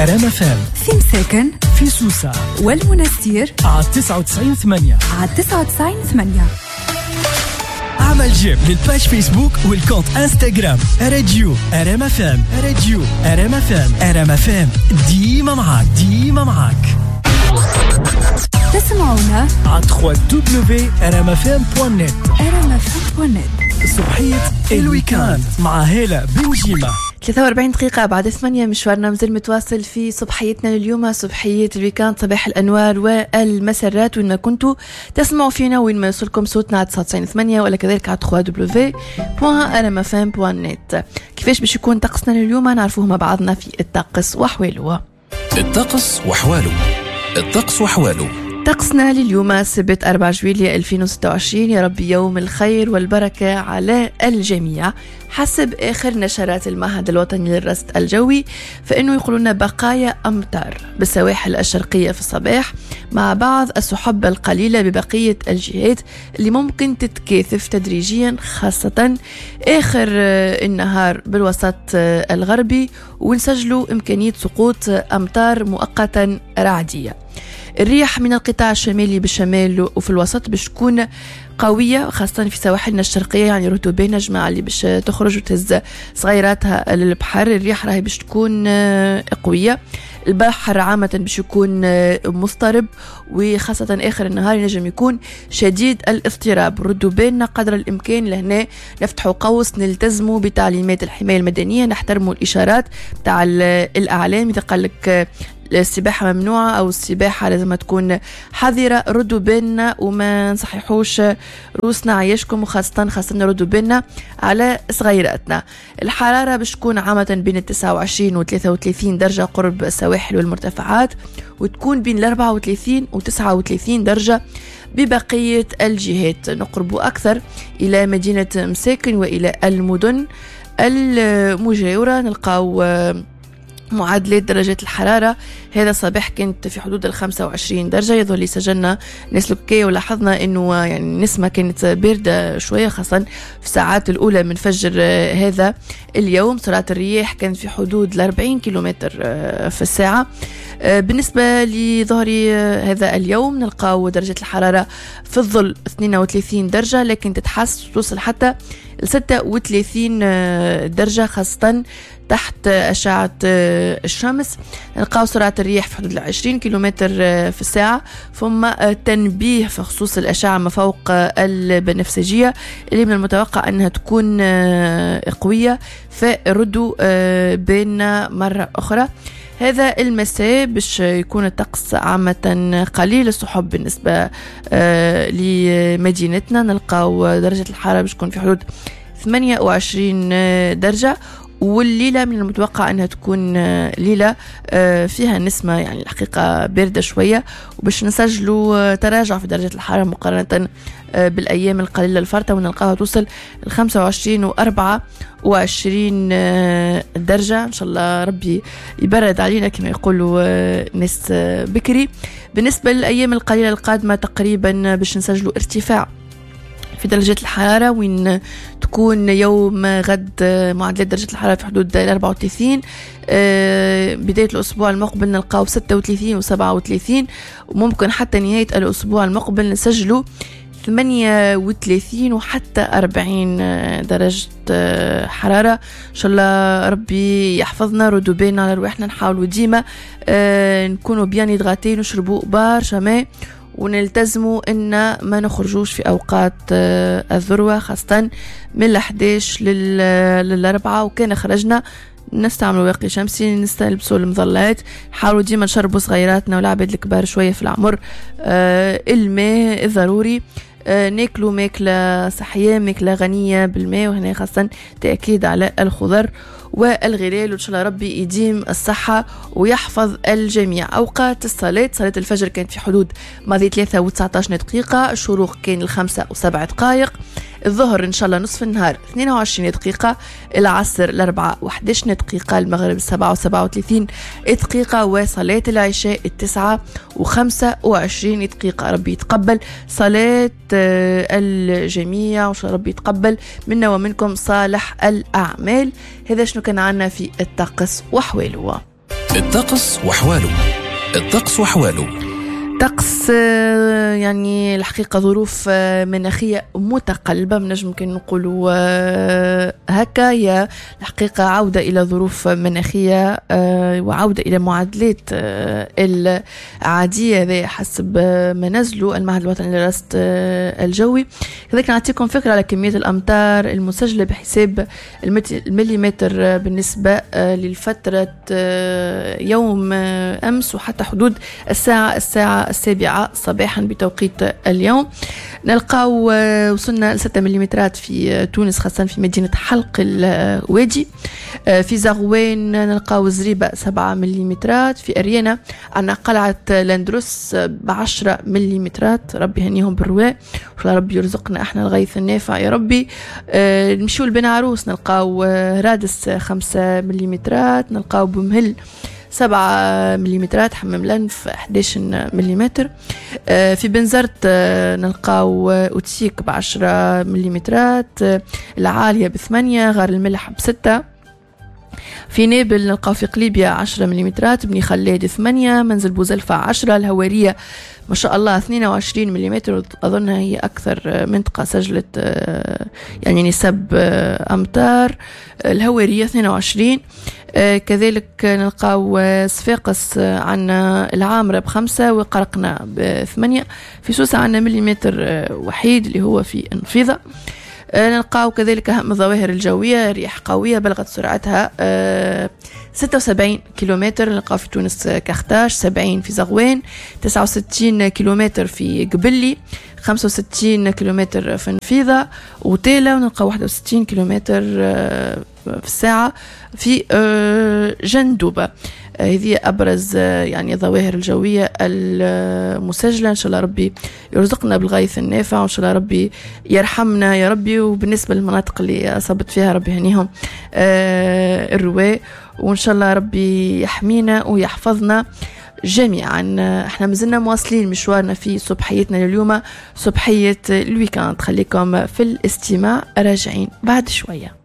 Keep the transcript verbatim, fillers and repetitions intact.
ار ام اف ام في مساكن، في سوسة والمنستير على تسعة وتسعين ثمانية، على تسعة وتسعين ثمانية. اعمل j'aime لل page فيسبوك وال compte انستغرام راديو ار ام اف ام، راديو ار ام اف ام، ار ام اف ام ديما معاك، ديما معاك. تسمعونا على دبليو دبليو دبليو دوت ار ام اف ام دوت نت، ار ام اف ام دوت نت. صبحية ال week-end مع هالة بنجيمة. ثلاثة وأربعين دقيقة بعد ثمانية، مشوارنا مازال متواصل في صبحيتنا لليوم، صبحية ال week-end، صباح الأنوار والمسرات. وين ما كنتوا تسمعوا فينا، وين ما يوصلكم صوتنا على تسعة وتسعين ثمانية ولا كذلك على دبليو دبليو دبليو دوت ار ام اف ام دوت نت. كيفاش باش يكون طقسنا لليوم نعرفوه مع بعضنا في الطقس وحواله. الطقس وحواله، الطقس وحواله. طقسنا لليوم السبت أربعة جويلية ألفين وستة وعشرين، يا ربي يوم الخير والبركة على الجميع. حسب آخر نشرات المعهد الوطني للرصد الجوي فإنه يقولون بقايا أمطار بالسواحل الشرقية في الصباح مع بعض السحب القليلة ببقية الجهات اللي ممكن تتكاثف تدريجيا خاصة آخر النهار بالوسط الغربي، ونسجلوا إمكانية سقوط أمطار مؤقتا رعدية. الرياح من القطاع الشمالي بالشمال وفي الوسط باش تكون قوية خاصة في سواحلنا الشرقية، يعني رطوبة جماعة اللي باش تخرج وتهز صغيراتها للبحر، الرياح راهي باش تكون قوية. البحر عامة باش يكون مضطرب وخاصة آخر النهار ينجم يكون شديد الاضطراب. ردوا بالنا قدر الإمكان لهنا، نفتحوا قوس، نلتزموا بتعليمات الحماية المدنية، نحترموا الإشارات تاع الأعلام. إذا قال لك السباحة ممنوعة أو السباحة لازم تكون حذرة، ردوا بالنا وما نصححوش روسنا عيشكم، وخاصة خاصة ردوا بالنا على صغيراتنا. الحرارة باش تكون عامة بين التسعة وعشرين وثلاثة وثلاثين درجة قرب السواحل والمرتفعات، وتكون بين الأربعة وثلاثين وتسعة وثلاثين درجة ببقية الجهات. نقرب أكثر إلى مدينة مساكن وإلى المدن المجاورة، نلقاو معادلات درجات الحرارة. هذا الصباح كانت في حدود الخمسة وعشرين درجة، يظهر لي سجلنا ناس لبكية ولاحظنا انه يعني النسمة كانت باردة شوية خاصة في الساعات الأولى من فجر هذا اليوم. سرعة الرياح كانت في حدود الأربعين كيلومتر في الساعة. بالنسبة لظهر هذا اليوم نلقاو درجة الحرارة في الظل اثنين وثلاثين درجة، لكن تتحس توصل حتى ستة وثلاثين درجة خاصة تحت أشعة الشمس. نلقاو سرعة الرياح في حدود العشرين كيلومتر في الساعة. ثم تنبيه في خصوص الأشعة ما فوق البنفسجية اللي من المتوقع أنها تكون قوية، فردوا بيننا مرة أخرى. هذا المساء باش يكون الطقس عامة قليل السحب بالنسبة لمدينتنا، نلقاو درجة الحرارة باش تكون في حدود ثمانية وعشرين درجة، والليلة من المتوقع أنها تكون ليلة فيها نسمة يعني الحقيقة باردة شوية، وباش نسجلوا تراجع في درجة الحرارة مقارنة بالأيام القليلة الفارطة، ونلقاها توصل الخمسة وعشرين وأربعة وعشرين درجة. إن شاء الله ربي يبرد علينا كما يقولوا ناس بكري. بالنسبة للأيام القليلة القادمة تقريبا باش نسجلوا ارتفاع في درجات الحرارة، وين تكون يوم غد معدلات درجة الحرارة في حدود الأربعة وثلاثين، بداية الأسبوع المقبل نلقاو ستة وثلاثين وسبعة وثلاثين، وممكن حتى نهاية الأسبوع المقبل نسجلوا ثمانية وثلاثين وحتى أربعين درجة حرارة. إن شاء الله ربي يحفظنا، ردوا بالنا على رواحنا، نحاولوا ديما نكونوا bien hydratés، نشربوا برشا ماء، ونلتزموا ان ما نخرجوش في اوقات الذروه خاصه من الأحداش للأربعة، وكان خرجنا نستعملوا واقي شمسي، نستلبسوا المظلات، نحاولوا ديما نشربوا صغيراتنا والعباد الكبار شويه في العمر الماء الضروري، ناكلوا ماكله صحيه، ماكله غنيه بالماء، وهنا خاصه تاكيد على الخضر والغلال. وإن شاء الله ربي يديم الصحة ويحفظ الجميع. أوقات الصلاة، صلاة الفجر كانت في حدود ماضي ثلاثة وتسعة عشر دقيقة، الشروق كان الخمسة وسبع دقائق، الظهر إن شاء الله نصف النهار اثنين وعشرين دقيقة، العصر الأربعة وحداش دقيقة، المغرب سبعة وسبعة وثلاثين دقيقة، وصلاة العشاء التسعة وخمسة وعشرين دقيقة. ربي يتقبل صلاة الجميع، وإن شاء ربي يتقبل منا ومنكم صالح الأعمال. هذا شنو كان عنا في الطقس وحواله. الطقس وحواله. الطقس وحواله. طقس يعني الحقيقة ظروف مناخية متقلبة، نجم كان نقولوا هكا. هي الحقيقة عودة إلى ظروف مناخية وعودة إلى معادلات العادية، هذا حسب ما نزلوا المعهد الوطني للرصد الجوي. كذلك نعطيكم فكرة على كمية الأمطار المسجلة بحساب المليمتر بالنسبة للفترة يوم أمس وحتى حدود الساعة الساعة السابعة صباحا بتوقيت اليوم. نلقاو وصلنا لستة مليمترات في تونس، خاصة في مدينة حلق الوادي. في زغوان نلقاو زريبة سبعة مليمترات. في أريانا عندنا قلعة لاندروس بعشرة مليمترات، ربي يهنيهم بالرواء وإن ربي يرزقنا احنا الغيث النافع يا ربي. نمشيو لبن عروس نلقاو رادس خمسة مليمترات، نلقاو بمهل سبعة مليمترات، حمام لنف أحد عشر مليمتر. في بنزرت نلقاو أوتيك بعشرة مليمترات، العالية بثمانية، غار الملح بستة. في نابل نلقاو في قليبيا عشرة مليمترات، بني خلاد ثمانية، منزل بوزلفة عشرة، الهوارية ما شاء الله اثنين وعشرين مليمتر، أظنها هي أكثر منطقة سجلت يعني نسب أمطار، الهوارية اثنين وعشرين. كذلك نلقاو صفاقس عنا العامرة بخمسة وقرقنا بثمانية. في سوسة عنا مليمتر وحيد اللي هو في النفيضة. نلقاو كذلك أهم الظواهر الجوية، رياح قوية بلغت سرعتها ستة وسبعين كيلومتر، نلقاو في تونس كختاش، سبعين في زغوان، تسعة وستين كيلومتر في قبلي، خمسة وستين كيلومتر في النفيضة وتيلا، ونلقاو واحد وستين كيلومتر في الساعة في جندوبة. هذه أبرز يعني الظواهر الجوية المسجلة. إن شاء الله ربي يرزقنا بالغيث النافع، وإن شاء الله ربي يرحمنا يا ربي. وبالنسبة للمناطق اللي أصابت فيها ربي يهنيهم الرواء، وإن شاء الله ربي يحمينا ويحفظنا جميعا. احنا مازلنا مواصلين مشوارنا في صبحيتنا لليوم، صبحية ال week-end. خليكم في الاستماع، راجعين بعد شوية.